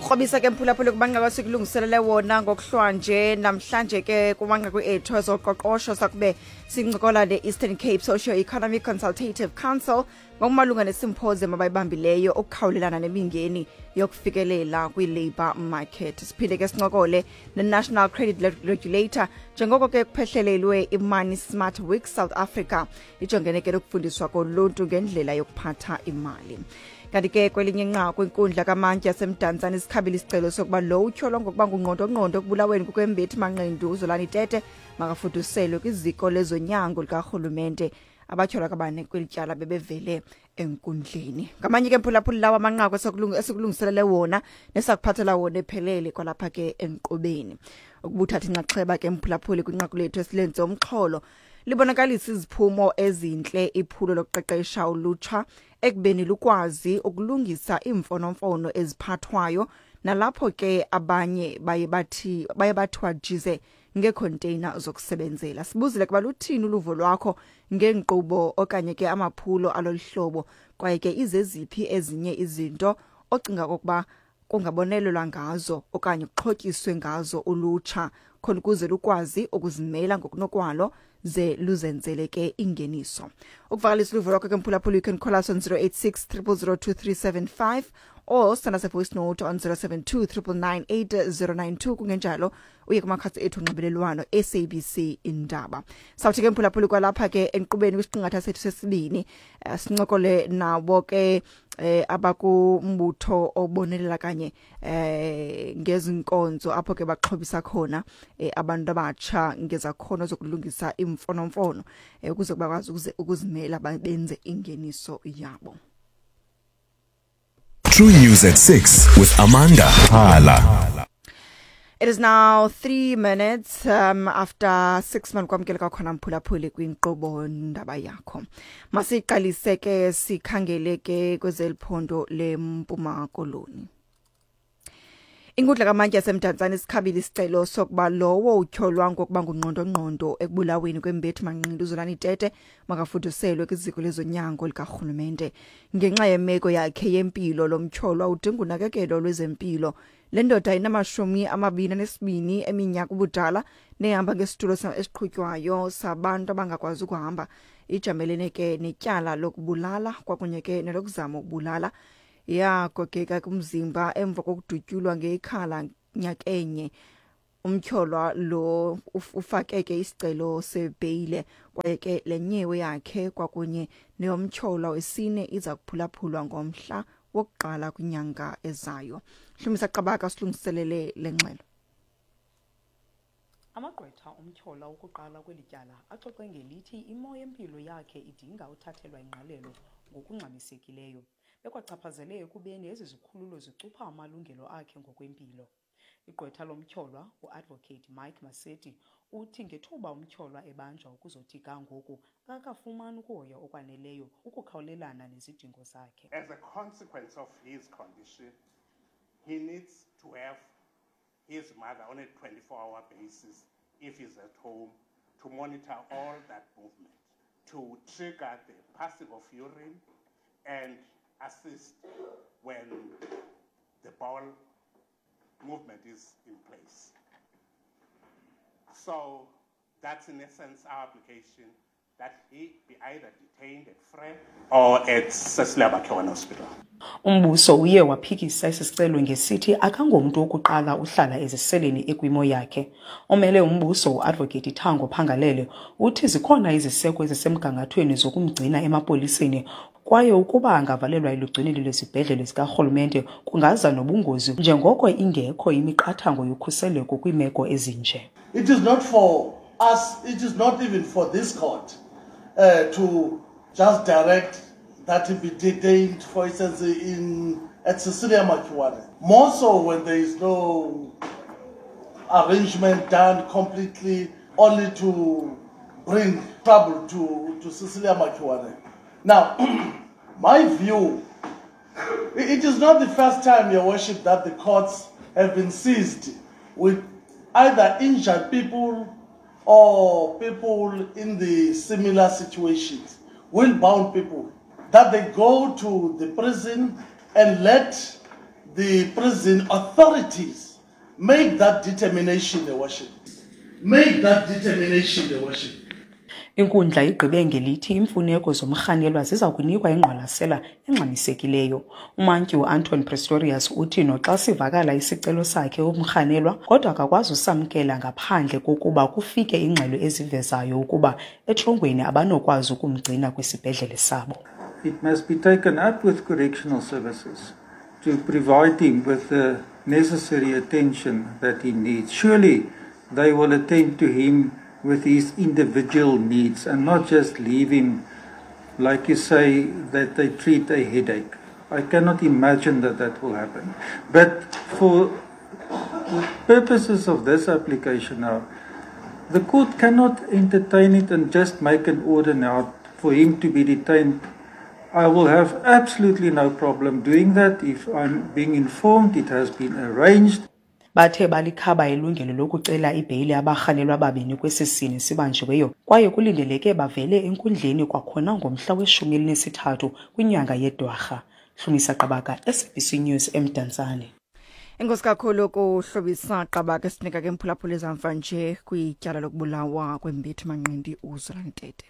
Sakukrobisa ke, mphulaphuli, kumanqaku esikulungiselele wona ngokuhlwanje. Namhlanje ke kumanqaku ethu ezoqoqosho sakube sincokola ne-Eastern Cape Socio-Economic Consultative Council ngokumalunga nesymposium abayibambileyo ukukhawulelana nemingeni yokufikelela kwi-labour market. Siphinde ke sincokole ne-National Credit Regulator njengoko ke kuphehlelelwe i-Money Smart Week South Africa, ijongene ke nokufundiswa koluntu ngendlela yokuphatha imali. Kanti ke kwelinye inqaku, inkundla kamantyi yaseMdantsane isikhabile isicelo sokuba lo utyholwa ngokuba ngungqondongqondo ekubulaweni kukwembethi manqindu uZolani Tete makafuduselwe kwiziko lezonyango likarhulumente. Abatyholwa kabane kweli tyala bebevele enkundleni. Ngamanye ke, mphulaphuli, lawo amanqaku esikulungiselele wona nesakuphathela wona ephelele kwalapha ke enkqubeni. Ukubuthatha inxaxheba ke, mphulaphuli, kwinqaku lethu esilenze umxholo libonakalisa iziphumo ezintle iphulo lokuqeqesha ulutsha ekubeni lukwazi ukulungisa iimfonomfono eziphathwayo, nalapho ke abanye baye bathiwa jize ngeekhonteyina zokusebenzela. Sibuzile kuba luthini uluvo lwakho ngeenkqubo okanye ke amaphulo alolu hlobo, kwaye ke izeziphi ezinye izinto ocinga okokuba kungabonelelwa ngazo okanye kuxhotyiswe ngazo ulutsha khona ukuze lukwazi ukuzimela ngokunokwalo ze luzenzele ke ingeniso. Ukuvakalisa uluvo lwakho ke, mphulaphula, you can call us on 086 000 2375 or send us a voice note on 072 999 8092. Kungenjalo uye kumakhasi ethu onxibelelwano, SABC Indaba. Sawuthi ke, mphulaphuli, kwalapha ke enkqubeni kwisiqingatha sethu sesibini sincokole nabo ke abakumbutho obonelela kanye ngezinkonzo apho ke baxhobisa khona abantu abatsha ngezakhono zokulungisa imfonomfono ukuze bakwazi ukuzimela benze ingeniso yabo. True News at 6 with Amanda Hala. It is now 3 minutes after 6. Manikwamkele kwakhona, mphulaphuli, kwinkqubo Ndaba Yakho. Masiqalise ke sikhangele ke kwezeliphondo leMpuma Koloni. Inkundla kamantyi yaseMdantsane isikhabile isicelo sokuba lowo utyholwa ngokuba ngungqondongqondo ekubulaweni kwembethi manqindi uZolani Tete makafuduselwe kwiziko lezonyango likarhulumente. Ngenxa yemeko yakhe yempilo, lo mtyholwa udinga unakekelo lwezempilo. Le ndoda inama-22 eminyaka ubudala nehamba ngesitulo esiqhutywayo sabantu abangakwazi ukuhamba ijamelene ke netyala lokubulala kwakunye ke nelokuzama ukubulala. Yagogeka kumzimba emva kokudutyulwa ngekhala nyakenye. Umtyholwa lo ufake ke isicelo sebheyile, kwaye ke le nyewe yakhe kwakunye neyomtyholwa wesine iza kuphulaphulwa ngomhla wokuqala kwinyanga ezayo. Hlumisa Qabaka silungiselele le ngxelo. Amagqwetha omtyholwa wokuqala kweli tyala axoxe ngelithi imo yempilo yakhe idinga uthathelwa ingqalelo ngokungxamisekileyo, bekwachaphazele ekubeni ezi zikhululo zicupha amalungelo akhe ngokwempilo. Igqwetha lomtyholwa, uAdvocate Mike Maseti, uthi ngethuba umtyholwa ebanjwa ukuzothi ga ngoku akakafumani ukuhoywa okwaneleyo ukukhawulelana nezidingo zakhe. As a consequence of his condition, he needs to have his mother on a 24-hour basis if he's at home to monitor all that movement, to trigger the passing of urine and assist when the bowel movement is in place. So that's in essence our application, that he be either detained at Frere or at Cecilia Makiwane Hospital. Umbuso uye waphikisa esi sicelo ngesithi akangomntu wokuqala uhlala eziseleni ekwimo yakhe. Omele umbuso, uAdvocate Thango Phangalele, uthi zikhona iziseko ezisemgangathweni zokumgcina emapoliseni, kwaye ukuba angavalelwa elugcinweni lwezibhedlele zikarhulumente kungaza nobungozi njengoko ingekho imiqathango yokhuseleko kwiimeko ezinje. It is not for us, it is not even for this court to just direct that he be detained, for instance, in at Cecilia Makiwane. More so when there is no arrangement done completely, only to bring trouble to Cecilia Makiwane. Now, my view, it is not the first time, Your Worship, that the courts have been seized with either injured people or people in the similar situations, wheel-bound people, that they go to the prison and let the prison authorities make that determination, Your Worship. Make that determination, Your Worship. Inkundla igqibe ngelithi iimfuneko zomrhanelwa ziza kunikwa ingqwalasela engxamisekileyo. Umantyi uAnton Pretorius uthi noxa sivakala isicelo sakhe umrhanelwa kodwa akakwazi usamkela ngaphandle kokuba kufike iingxelo ezivezayo ukuba etrongweni abanokwazi ukumgcina kwisibhedlele sabo. It must be taken up with correctional services to provide him with the necessary attention that he needs. Surely they will attend to him with his individual needs and not just leave him, like you say, that they treat a headache. I cannot imagine that that will happen. But for the purposes of this application now, the court cannot entertain it and just make an order now for him to be detained. I will have absolutely no problem doing that if I'm being informed it has been arranged. Bathe balikhaba ilungelo lokucela ibheyile abarhanelwa ababini kwesi sini sibanjiweyo kwaye kulindeleke bavele enkundleni kwakhona ngomhla weshumi elinesithathu kwinyanga yeDwarha. Hlumisa Qabaka, SABC News eMdantsane. Enkosi kakhulu kuhlobisa Qabaka sinika ke mphulaphula ezamva nje kwityala lokubulawa kwembethi manqindi uZolani Tete.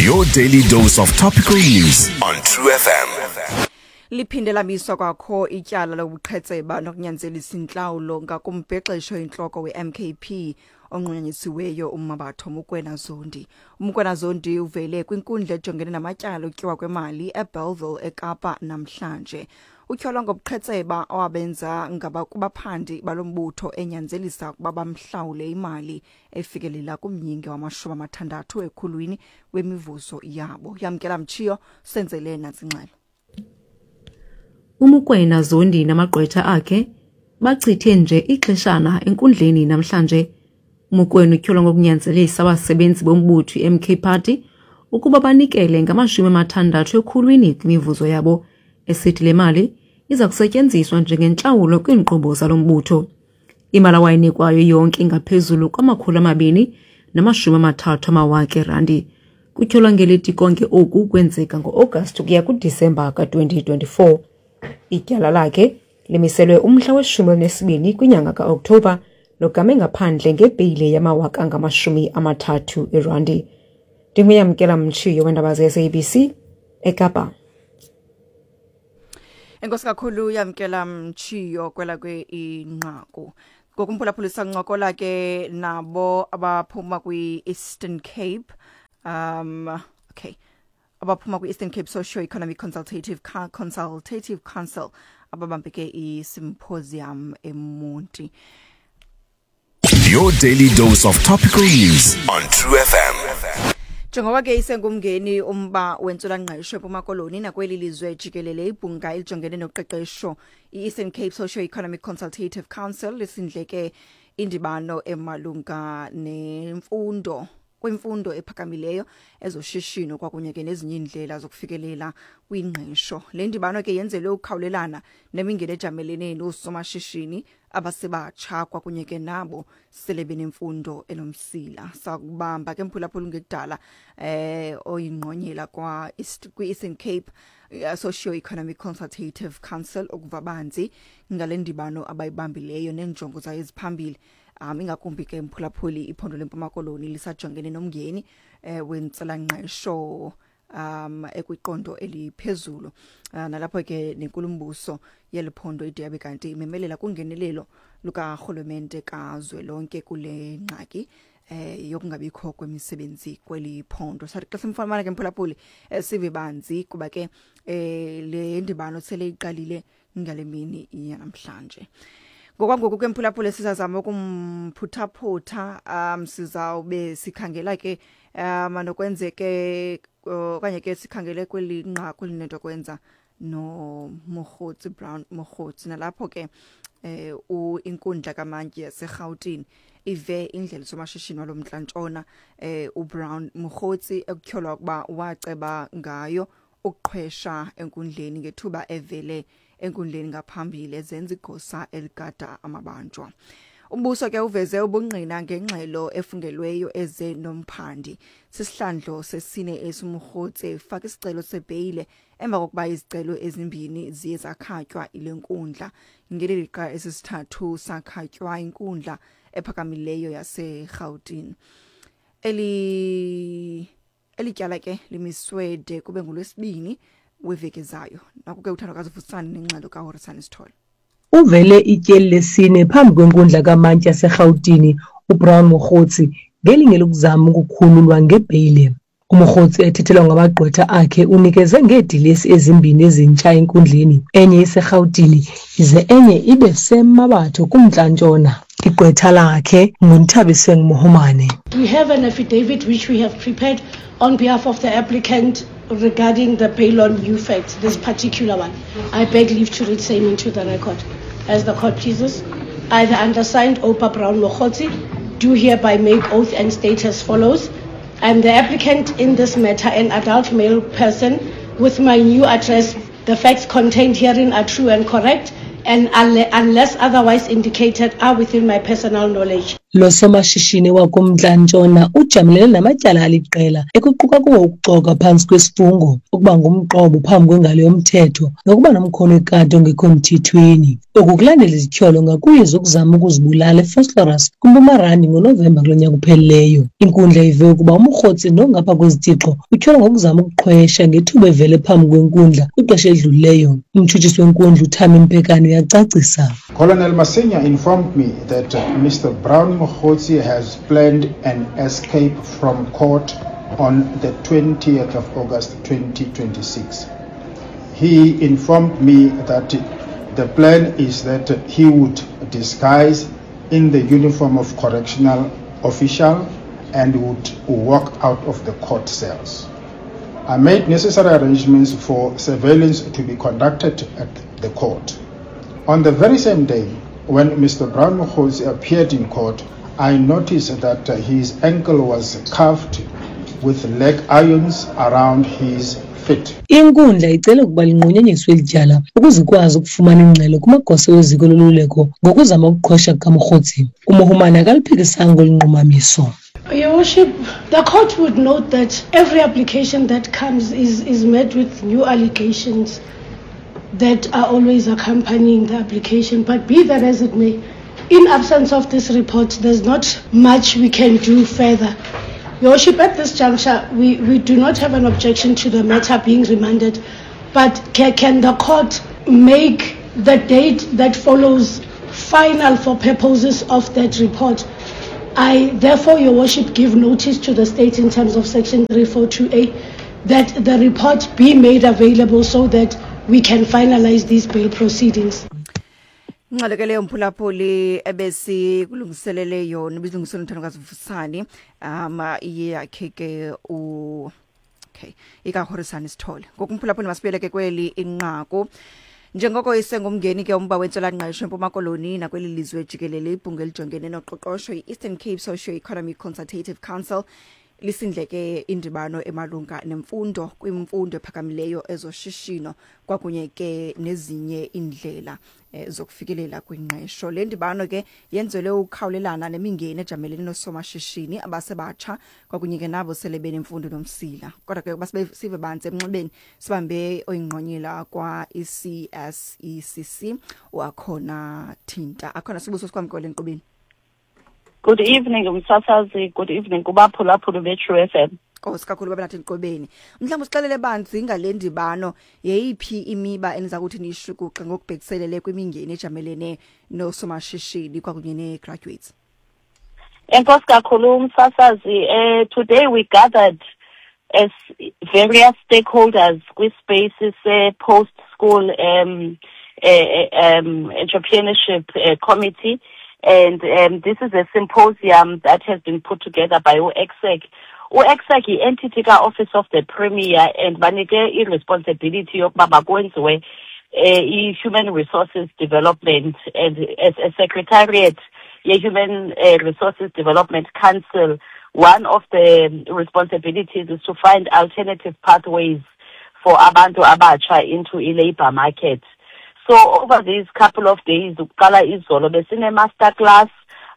Your daily dose of topical news on True FM. Liphinde lamiswa kwakho ityala lobuqhetseba nokunyanzelisa intlawulo ngakumbhexesho intloko we-MKP onqunyanyisiweyo uMmabatho Mokoena Zondi. UMokoena Zondi uvele kwinkundla ejongene namatyala okutyiwa kwemali eBellville eKapa namhlanje. Utyholwa ngobuqhetseba owabenza ngaba kubaphandi balo mbutho enyanzelisa ukuba bamhlawule imali efikelela kumyinge wamashumi amathandathu ekhulwini wemivuzo yabo. Yamkela Mtshiyo senzele nantsi ingxelo. UMokoena Zondi namagqwetha akhe bachithe nje ixeshana enkundleni namhlanje. UMokoena utyholwa ngokunyanzelisa abasebenzi bombutho iMK Party ukuba banikele ngamashumi amathandathu ekhulwini kwimivuzo yabo, esithi le mali iza kusetyenziswa njengentlawulo kwiinkqubo zalo mbutho. Imali awayinikwayo yonke ingaphezulu kwama-230 amawaka erandi. Kutyholwa ngelithi konke oku kwenzeka ngo-Agasti ukuya kuDisemba ka-2024. Ityala lakhe limiselwe umhla weshumi elinesibini kwinyanga kaOkthobha logame ngaphandle ngebheyile yamawaka angamashumi amathathu erandi. Ndinguyamkela Mtshiyo weendaba ze-SABC eKapa. Enkosi kakhulu Yamkela Mtshiyo kwela kwe inqaku. Ngokumphulaphula sancokola ke nabo abaphuma kwi-Eastern Cape. Okay. Abaphuma kwi-Eastern Cape Socio-Economic Consultative Council ababambe ke i-symposium eMonti. Your daily dose of topical news on True FM. Njengoba ke isengumngeni umba wentswelangqesho eMpuma Koloni nakweli lizwe jikelele, ibhunga elijongene noqeqesho i-Eastern Cape Socio-Economic Consultative Council lisindleke indibano emalunga nemfundo kwimfundo ephakamileyo, ezoshishino kwakunye ke nezinye iindlela zokufikelela kwingqesho. Le ndibano ke yenzelwe ukukhawulelana nemingeni ejamelene noosomashishini abasebatsha kwakunye ke nabo sele benemfundo enomsila. Sakubamba ke mphulaphula ngekudala oyingqonyela kwa kwi-Eastern Cape Socio-Economic Consultative Council ukuva banzi ngale ndibano abayibambileyo neenjongo zayo eziphambili, ingakumbi ke mphulaphuli iphondo leMpuma Koloni lisajongene nomngeni wentswelangqesho ekwiqondo eliphezulu, nalapho ke nenkulumbuso yeli phondo ide yabe kanti imemelela kungenelelo lukarhulumente kazwelonke kule ngxaki yokungabikho kwemisebenzi kweli phondo. Sathi xa simfumana ke mphulaphuli, sive banzi kuba ke le ndibano sele iqalile ngale mini yanamhlanje. Ngokwangoku ke mphulaphuli sizazama ukumphuthaphutha, sizawube sikhangela ke nokwenzeke okanye ke sikhangele kweli nqaku linento kwenza noMogotsi Brown Mogotsi, nalapho ke inkundla kamantyi yaseRhawutini ive indlela somashishini walomntla-ntshona uBrown Mogotsi ekutyholwa ukuba waceba ngayo ukuqhwesha enkundleni ngethuba evele enkundleni ngaphambili ezenza igosa eligada amabanjwa. Umbuso ke uveze ubungqina ngengxelo efungelweyo eze nomphandi. Sisihlandlo sesine esiMogotsi efaka isicelo sebheyile. Emva kokuba izicelo ezimbini ziye zakhatywa ile nkundla, ngeli lixa esisithathu sakhatywa inkundla ephakamileyo yaseRhawutini. Eli tyala ke limiswe de kube ngolwesibini weveki ezayo. Naku ke uThandokazi Vusani nengxelo kaHorisani Sithole. Uvele ityeli lesine phambi kwenkundla kamantyi yaseRhawutini uBrown Mogotsi ngelinge lokuzama ukukhululwa ngebheyile. UMogotsi ethethelwa ngamagqwetha akhe unikeze ngeedilesi ezimbini ezintsha enkundleni, enye iseRhawutini ize enye ibe seMmabatho kumntla-ntshona. Igqwetha lakhe nguNthabiseng Mohomane. We have an affidavit which we have prepared on behalf of the applicant regarding the bail on new facts, this particular one. I beg leave to read same into the record. As the court pleases, I, the undersigned Opa Brown Mogotsi, do hereby make oath and state as follows. I am the applicant in this matter, an adult male person with my new address. The facts contained herein are true and correct, and unless otherwise indicated, are within my personal knowledge. Lo somashishini wakumntla-ntshona ujamelene namatyala aliqela ekuquka kuwo ukuxoka phantsi kwesifungo, ukuba ngumqobo phambi kwengalo yomthetho nokuba nomkhono wekati ongekho mthethweni. Oku kulandela izityholo ngakuye zokuzama ukuzibulala eVosloorus kwiMpuma Randi ngoNovemba kulo nyaka uphelileyo. Inkundla ive ukuba uMogotsi nongapha kwezitixo utyholwa ngokuzama ukuqhwesha ngethuba evele phambi kwenkundla kwixesha elidlulileyo. Umtshutshisi wenkundla uThami Mpekane uyacacisa. Colonel Masenya informed me that Mr. Brown Mogotsi has planned an escape from court on the 20th of August 2026. He informed me that the plan is that he would disguise in the uniform of correctional official and would walk out of the court cells. I made necessary arrangements for surveillance to be conducted at the court. On the very same day, when Mr. Brown Mogotsi appeared in court, I noticed that his ankle was cuffed with leg irons around his feet. Inkundla icele ukuba linqunyanyiswe eli tyala ukuze ikwazi ukufumana ingxelo kumagosa weziko loluleko ngokuzama ukuqhwesha kukaMogotsi. UMohomane akaliphikisanga olu nqumamiso. Your Worship, the court would note that every application that comes is met with new allegations that are always accompanying the application. But be that as it may, in absence of this report, there's not much we can do further. Your Worship, at this juncture, we do not have an objection to the matter being remanded, but can the court make the date that follows final for purposes of that report? I therefore, Your Worship, give notice to the state in terms of section 342A that the report be made available so that we can finalize these bail proceedings. Ingxelo ke leyo, mphulaphuli, ebesikulungiselele yona ibizilungiselele uThandokazi Vusani, iye yakhe ke u okay ikaHorisani Sithole. Ngoku, mphulaphuli, masibuyele ke kweli inqaku. Njengoko isengumngeni ke umba wentswelangqesho eMpuma Koloni nakweli lizwe jikelele, ibhunga elijongene noqoqosho i-Eastern Cape Socio-Economic Consultative Council lisindleke indibano emalunga nemfundo kwimfundo ephakamileyo, ezoshishino kwakunye ke nezinye indlela zokufikelela kwingqesho. Le ndibano ke yenzelwe ukukhawulelana nemingeni ejamelene noosomashishini abasebatsha kwakunye ke nabo sele benemfundo nomsila. Kodwa ke basibe sive banzi emnxebeni, sibambe oyingqonyela kwa-ECSECC wakhona Thinta. Akhona sibuso, sikwamkele enkqubeni. Good evening, umsasazi. Good evening kubaphulaphuli be-True FM. Nkosi kakhulu babe nathi enkqubeni. Mhlawumbi usixelele banzi ngale ndibano, yeyiphi imiba eniza kuthi niyishukuxe ngokubhekiselele kwimingeni ejamelene noosomashishini kwakunye nee-graduates? Enkosi kakhulu, umsasazi. Today we gathered as various stakeholders kwi-spaces post school entrepreneurship committee, and this is a symposium that has been put together by u-ECSECC. U-ECSECC yi-entity ka-Office of the Premier and banike i-responsibility yokuba makwenziwe i-human resources development, and as a secretariat ye-Human Resources Development Council, one of the responsibilities is to find alternative pathways for abantu abatsha into i-labor market. So over these couple of days, ukuqala izolo, besine-master class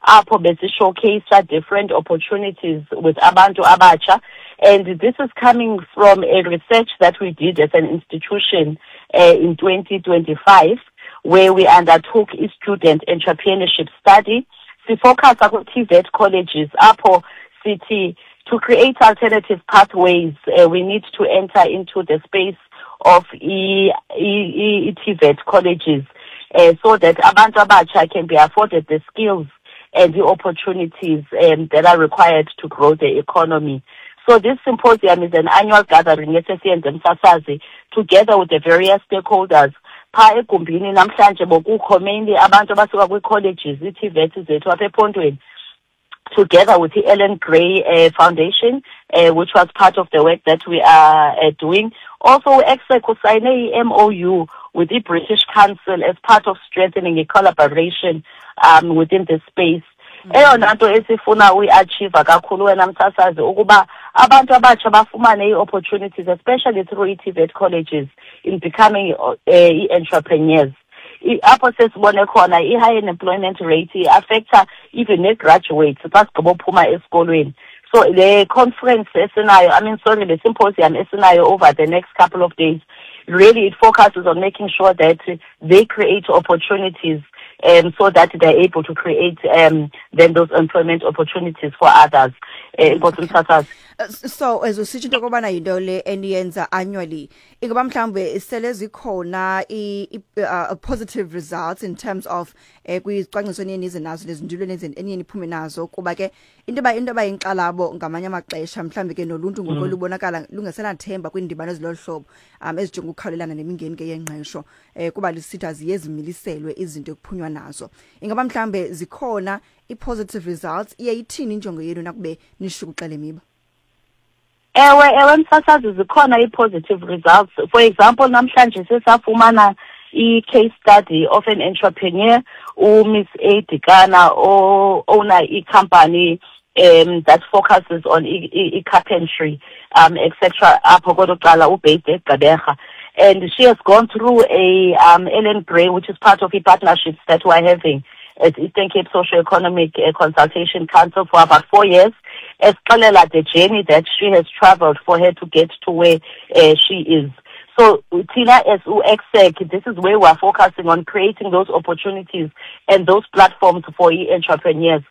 apho besi-showcase different opportunities with abantu abatsha. And this is coming from a research that we did as an institution in 2025, where we undertook a student entrepreneurship study. Sifocusa kwi-TVET colleges apho sithi to create alternative pathways, we need to enter into the space of i-TVET colleges so that abantu abatsha can be afforded the skills and the opportunities that are required to grow the economy. So this symposium is an annual gathering esesiyenze, msasazi, together with the various stakeholders. Phaa egumbini namhlanje bokukho mainly abantu abasuka kwii-colleges, ii-TVET zethu apha ephondweni, together with the Ellen Gray Foundation, which was part of the work that we are doing. Also, ECSECC usayine i-MOU with the British Council as part of strengthening a collaboration within the space. Eyona nto esifuna uyi-achieve kakhulu, wena msasazi, ukuba abantu abatsha bafumane ii-opportunities, especially through ii-TVET colleges, in becoming ii-entrepreneurs. Apho sesibone khona i-high unemployment rate i-affecta even nee-graduates xa sigqiba uphuma esikolweni. So le conference esinayo, I mean, sorry, le symposium esinayo over the next couple of days, really it focuses on making sure that they create opportunities so that they're able to create then those employment opportunities for others. Enkosi, msasazi. So as usitsho into yokobana yinto le eniyenza annually, ingaba mhlawumbe sele zikhona i positive results in terms of kwizicwangciso eniye nize nazo nezindululo eniye niphume nazo? Kuba ke into ba yinkxalabo ngamanye amaxesha, mhlawumbi ke noluntu ngoku lubonakala lungasenathemba kwiindibano ezilolu hlobo ezijonga ukukhawulelana nemingeni ke yengqesho, kuba lisithi aziye zimiliselwe izinto ekuphunywa nazo. Ingaba mhlawumbe zikhona i-positive results? Iye ithini injongo yenu nakube nishukuxa le miba? Ewe, msasazi, zikhona ii-positive results. For example, namhlanje sesafumana i-case study of an entrepreneur, uMiss A Dikana, owner i-company that focuses on i-carpentry etc. apho kwelo cala, ubased eGqeberha, and she has gone through a Ellen Gray, which is part of the partnerships that we're having at Eastern Cape Socio-Economic Consultation Council, for about 4 years, esixelela the journey that she has traveled for her to get to where she is. So thina as u-ECSECC, this is where we're focusing on creating those opportunities and those platforms for i-entrepreneurs.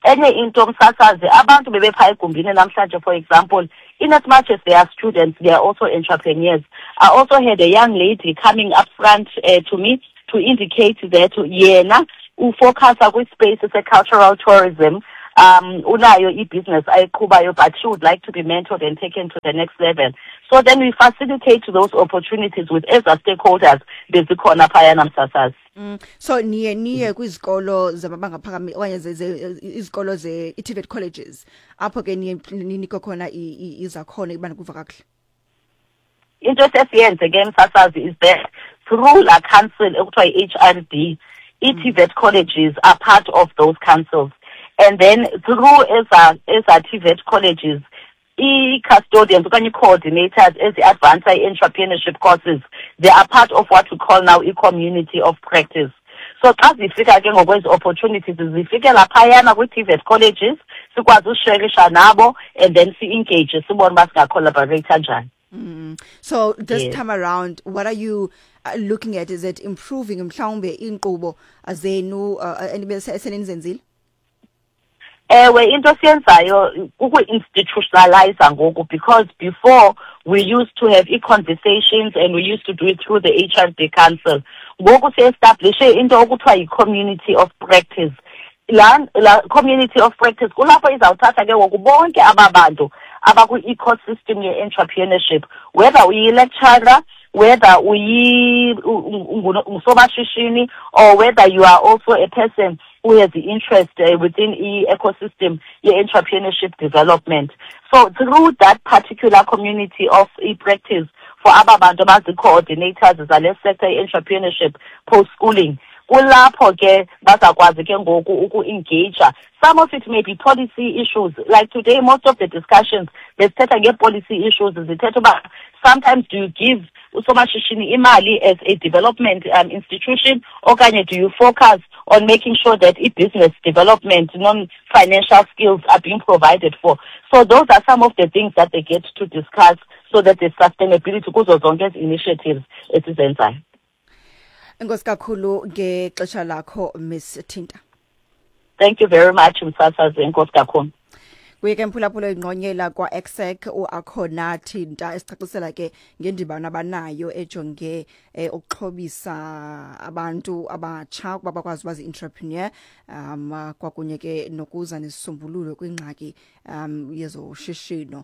Enye into, msasazi, abantu bebephaa egumbini namhlanje, for example, in as much as they are students, they are also entrepreneurs. I also had a young lady coming up front to me to indicate that yena ufocusa kwispace se-cultural tourism. Unayo i-business ayiqhubayo, but she would like to be mentored and taken to the next level. So then we facilitate those opportunities with eza stakeholders bezikhona phayana, msasazi. So niye kwizikolo zamabanga aphakamileyo okanye izikolo ze i-TVET colleges, apho ke niye ninikwe khona izakhono ibana kuva kakuhle? Into esesiyenze ke, msasazi, is that through la council ekuthiwa i-HRD, i-TVET colleges are part of those councils, and then through eza TVET colleges, i-custodians okanye i-coordinators ezi-advance i-entrepreneurship courses, they are part of what we call now i-community of practice. So xa zifika ke ngokwezi opportunities, zifikela phayana kwii-TVET colleges, sikwazi usherisha nabo and then si-engage, sibone uba singacollaborate kanjani. So this time around, what are you looking at? Is it improving mhlawumbe iinkqubo zenu enibe selenizenzile? Ewe, into esiyenzayo kuku-institutionalize ngoku, because before we used to have i-conversations and we used to do it through the HRD Council. Ngoku si-establishe into okuthiwa yi-community of practice. La community of practice kulapho izawuthatha ke ngoku bonke aba bantu abakwi-ecosystem ye-entrepreneurship, whether uyi-lecturer, whether ungusomashishini, or whether you are also a person who has the interest within i-ecosystem ye-entrepreneurship development. So through that particular community of e-practice for aba bantu abazi-coordinators zale sector ye-entrepreneurship post-schooling, Kulapho ke bazakwazi ke ngoku uku-engage. Some of it may be policy issues. Like today, most of the discussions besithetha ngee-policy issues, zithetha uba sometimes do you give usomashishini imali as a development institution, okanye do you focus on making sure that i-business development, non-financial skills are being provided for? So those are some of the things that they get to discuss so that there's sustainability kuzo zonke ezi initiatives esizenzayo. Enkosi kakhulu ngexesha lakho, Miss Thinta. Thank you very much, msasazi. Enkosi kakhulu. Kuye ke, mphulaphula, ingqonyela kwa-ECSECC uAkhona Thinta, esicacisela ke ngendibano abanayo ejonge ukuxhobisa abantu abatsha ukuba bakwazi uba zii-entrepreneur, kwakunye ke nokuza nesisombululo kwingxaki yezoshishino,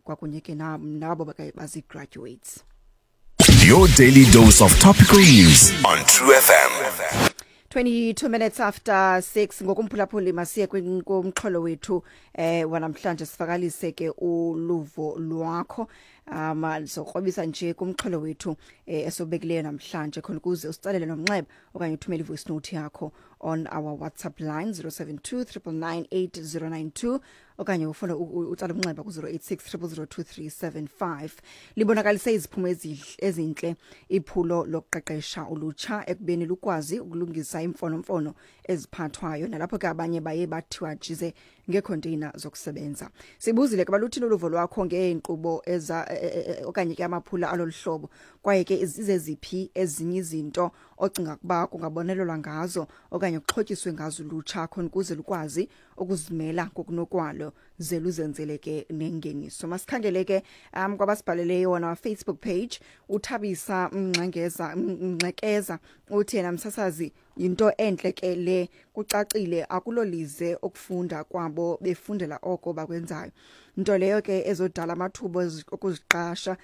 kwakunye ke nabo bazi-graduates. Your daily dose of topical news on True FM. 22 minutes after 6 ngokumphulaphuli, masiye kumxholo wethu wanamhlanje, sivakalise ke uluvo lwakho. Sizokrobisa nje kumxholo wethu esobekileyo namhlanje, khona ukuze usitsalele nomnxeba okanye uthumele ivoice note yakho on our WhatsApp line 072 999 8092, okanye ufune utsala umnxeba ku-086 0002375. Libonakalise iziphumo ezintle iphulo lokuqeqesha ulutsha ekubeni lukwazi ukulungisa iimfonomfono eziphathwayo, nalapho ke abanye baye bathiwa jize ngeekhonteyina zokusebenza. Sibuzile ke, baluthini uluvo lwakho ngeenkqubo eza okanye ke amaphula alolu hlobo, kwaye ke zizeziphi ezinye izinto ocinga ukuba kungabonelelwa ngazo okanye kuxhotyiswe ngazo ulutsha khona ukuze lukwazi ukuzimela ngokunokwalo ze luzenzele ke nengeniso? Masikhangele ke kwabasibhaleleyo wona Facebook page. Uthabisa Mngxengeza Mngxekeza uthi yena, "Msasazi, yinto entle ke le. Kucacile akulolize ukufunda kwabo, befundela oko bakwenzayo, nto leyo ke ezodala amathuba okuziqasha.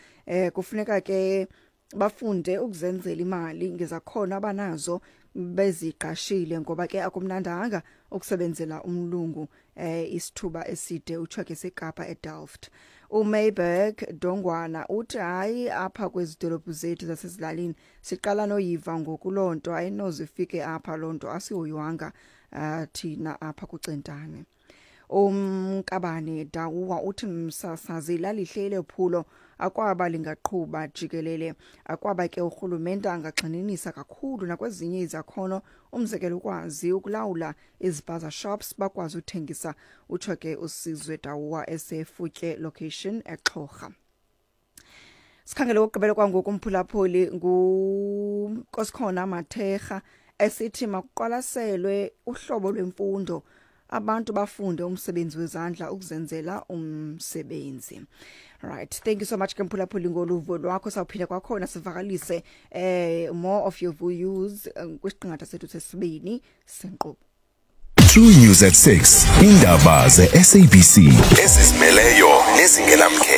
Kufuneka ke bafunde ukuzenzela imali ngezakhono abanazo beziqashile, ngoba ke akumnandanga ukusebenzela umlungu isithuba eside." Utsho ke seKapa eDelft. UMayberg Dongwana uthi, "Hayi, apha kwezi dolophu zethu zasezilalini siqala noyiva ngoku loo nto, ayinoze ifike apha loo nto, asihoywanga thina apha kuCentane." Umkabane Dawuwa uthi, "Msasazi, lalihle lephulo, akwaba lingaqhuba jikelele. Akwaba ke urhulumente angagxininisa kakhulu nakwezinye izakhono, umzekelo ukwazi ukulawula izipaza shops, bakwazi uthengisa." Utsho ke uSizwe Dawuwa eseFutye location eXhorha. Sikhangele okugqibela kwangoku, umphulaphuli nguNkosikhona Mathekga, esithi makuqwalaselwe uhlobo lwemfundo, abantu bafunde umsebenzi wezandla ukuzenzela umsebenzi. Right, thank you so much ke, mphulaphuli, ngoluvo lwakho. Sawuphinda kwakhona sivakalise more of your views kwisiqingatha sethu sesibini senkqubo. True News at 6. Indaba ze-SABC ezizimeleyo nezingenamkhethe.